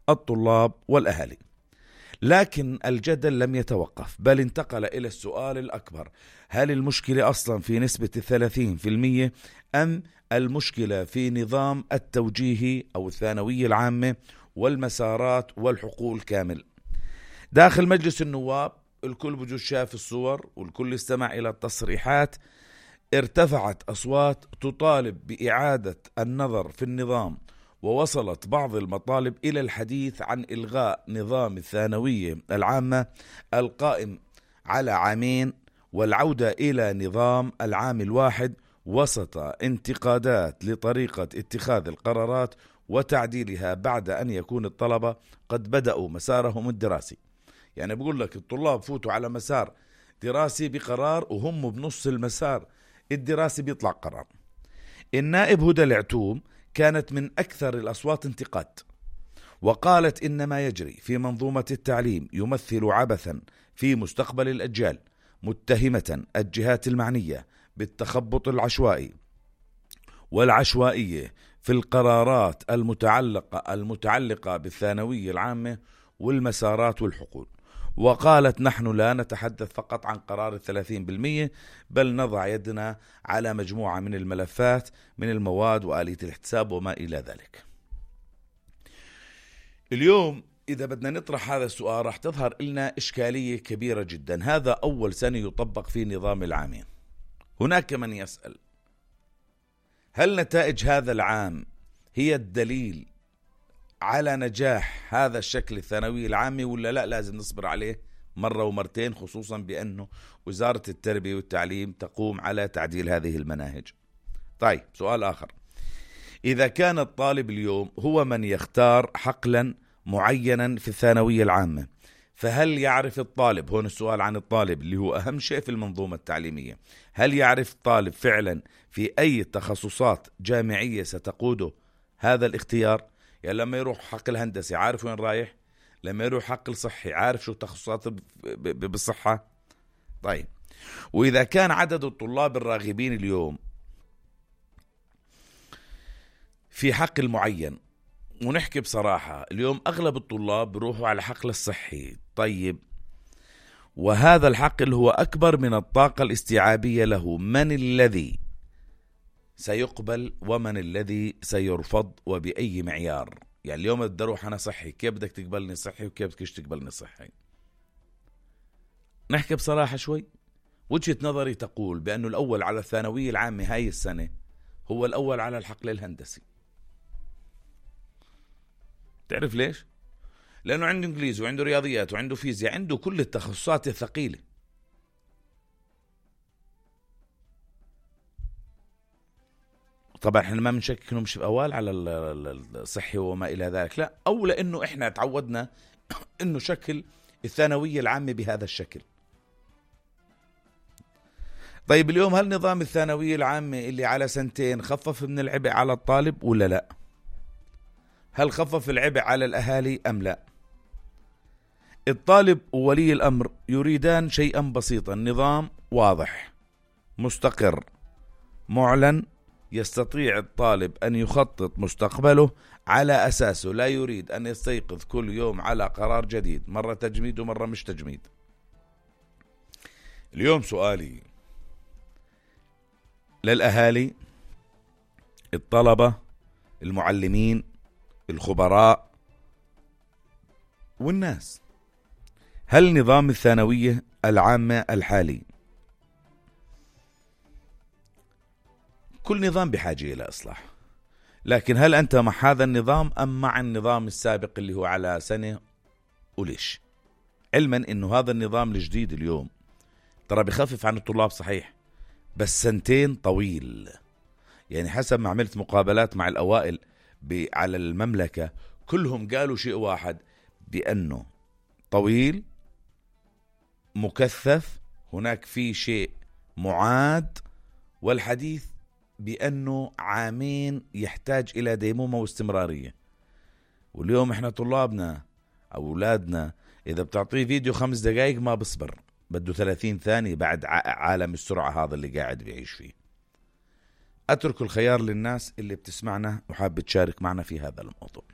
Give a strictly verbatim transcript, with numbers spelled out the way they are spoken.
الطلاب والأهالي. لكن الجدل لم يتوقف، بل انتقل إلى السؤال الأكبر: هل المشكلة أصلا في نسبة الثلاثين في المية أم المشكلة في نظام التوجيهي أو الثانوية العامة والمسارات والحقول كامل؟ داخل مجلس النواب الكل بجوز شاف الصور والكل استمع إلى التصريحات. ارتفعت أصوات تطالب بإعادة النظر في النظام، ووصلت بعض المطالب إلى الحديث عن إلغاء نظام الثانوية العامة القائم على عامين والعودة إلى نظام العام الواحد، وسط انتقادات لطريقة اتخاذ القرارات وتعديلها بعد أن يكون الطلبة قد بدأوا مسارهم الدراسي. يعني بقول لك الطلاب فوتوا على مسار دراسي بقرار وهم بنص المسار الدراسي بيطلع قرار. النائب هدى العتوم كانت من أكثر الأصوات انتقاد، وقالت إن ما يجري في منظومة التعليم يمثل عبثا في مستقبل الأجيال، متهمة الجهات المعنية بالتخبط العشوائي والعشوائية في القرارات المتعلقة المتعلقة بالثانوية العامة والمسارات والحقول. وقالت: نحن لا نتحدث فقط عن قرار الثلاثين بالمية، بل نضع يدنا على مجموعة من الملفات من المواد وآلية الاحتساب وما إلى ذلك. اليوم إذا بدنا نطرح هذا السؤال راح تظهر لنا إشكالية كبيرة جدا. هذا أول سنة يطبق فيه نظام العامين. هناك من يسأل: هل نتائج هذا العام هي الدليل على نجاح هذا الشكل الثانوي العامي ولا لا لازم نصبر عليه مرة ومرتين، خصوصا بأنه وزارة التربية والتعليم تقوم على تعديل هذه المناهج؟ طيب، سؤال آخر: إذا كان الطالب اليوم هو من يختار حقلا معينا في الثانوية العامة، فهل يعرف الطالب، هون السؤال عن الطالب اللي هو أهم شيء في المنظومة التعليمية، هل يعرف الطالب فعلا في أي تخصصات جامعية ستقوده هذا الاختيار؟ يعني لما يروح حق الهندسي عارف وين رايح، لما يروح حق الصحي عارف شو تخصصات بالصحة. طيب، وإذا كان عدد الطلاب الراغبين اليوم في حق المعين، ونحكي بصراحة اليوم أغلب الطلاب بروحوا على حقل الصحي، طيب وهذا الحق اللي هو أكبر من الطاقة الاستيعابية له، من الذي سيقبل ومن الذي سيرفض وبأي معيار؟ يعني اليوم بدي أروح أنا صحي، كيف بدك تقبلني صحي وكيف بدك تقبلني صحي؟ نحكي بصراحة شوي. وجهة نظري تقول بأنه الأول على الثانوية العامة هاي السنة هو الأول على الحقل الهندسي. تعرف ليش؟ لأنه عنده إنجليزي وعنده رياضيات وعنده فيزياء، عنده كل التخصصات الثقيلة. طبعا احنا ما بنشكك انه مش اول على الصحي وما الى ذلك، لا، او لانه احنا تعودنا انه شكل الثانويه العامه بهذا الشكل. طيب اليوم هل نظام الثانويه العامه اللي على سنتين خفف من العبء على الطالب ولا لا؟ هل خفف العبء على الاهالي ام لا؟ الطالب وولي الامر يريدان شيئا بسيطا: نظام واضح مستقر معلن يستطيع الطالب أن يخطط مستقبله على أساسه، لا يريد أن يستيقظ كل يوم على قرار جديد، مرة تجميد ومرة مش تجميد. اليوم سؤالي للأهالي، الطلبة، المعلمين، الخبراء والناس: هل نظام الثانوية العامة الحالي، كل نظام بحاجة إلى إصلاح، لكن هل أنت مع هذا النظام أم مع النظام السابق اللي هو على سنة؟ وليش؟ علما أنه هذا النظام الجديد اليوم ترى بخفف عن الطلاب صحيح، بس سنتين طويل. يعني حسب ما عملت مقابلات مع الأوائل على المملكة كلهم قالوا شيء واحد، بأنه طويل مكثف، هناك في شيء معاد، والحديث بأنه عامين يحتاج إلى ديمومة واستمرارية. واليوم إحنا طلابنا أولادنا إذا بتعطيه فيديو خمس دقائق ما بصبر، بده ثلاثين ثانية بعد عالم السرعة هذا اللي قاعد بيعيش فيه. أترك الخيار للناس اللي بتسمعنا وحابة تشارك معنا في هذا الموضوع.